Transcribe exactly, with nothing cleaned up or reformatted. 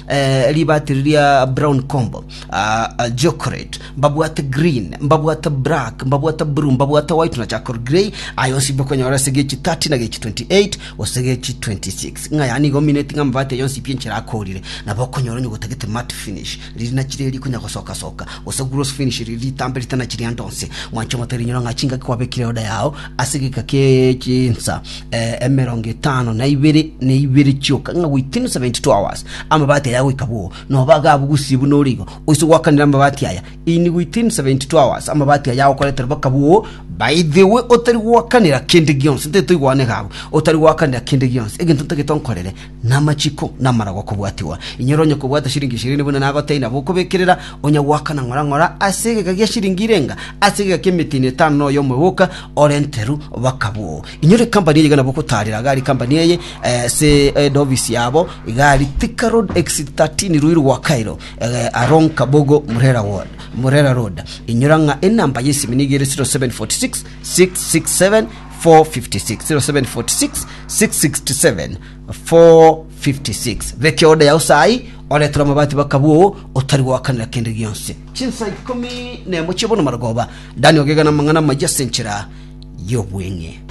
eh, ribati riria brown combo, ah, ah, chocolate mbabwate, green mbabwate, black mbabwate, blue mbabwate, white na charcoal grey. Ayo onsi bokonyora ase gechi thirty na gechi twenty-eight gose gechi twenty-six. Ng'a yani igo mineti ng'a amabati ayo onsi pi enchera akorire nabo okonyora. Onye gotagete matte finish riri nachire rikonya gosoka soka, gose gloss finish riri ritambe ritana ande onsi, mwanche omoteri, nyora ng'a chingaki kwabekire oda yao ase geka kie chinsa eh, emerongo etano na ibere na ibere chioka, ng'a within seventy-two hours amabati aya goika buo noba gabugusi buno origo oise gwakanira amabati aya in within seventy-two hours, amabati aya agokoretera baka buo. By the way, otari gwakanira kende gionsi, nte toigwane gabo, otari gwakanira kende gionsi, egento ntagete onkorere namachiko namara gokobwatiwa. Inyoro onye kobwata shiringi ishirini buna nagotei, nabo okobekerera onya gwakana ng'ora ng'ora ase egeka gia shiringi irenga, ase egeka kia emetini etano noyo omoboka orenteru bakabuo. Inyore company eye nabo ogotarera gari company eye eh, se head office yabo igari Thika Road exit thirteen, Ruiru gwa Cairo, eh, along Kabogo Murera Ward, Murera Road. Inyora ng'a enamba yesimi nigere zero seven four six six six seven four five six, zero seven four six six six seven four five six. Beke order yao sai, oretera amabati bakabuo otari gwakanira kende gionsi. Chinsa ikumi nemo chibono marogoba, Daniel Ogega na mang'ana maja senchera y'obweng'e.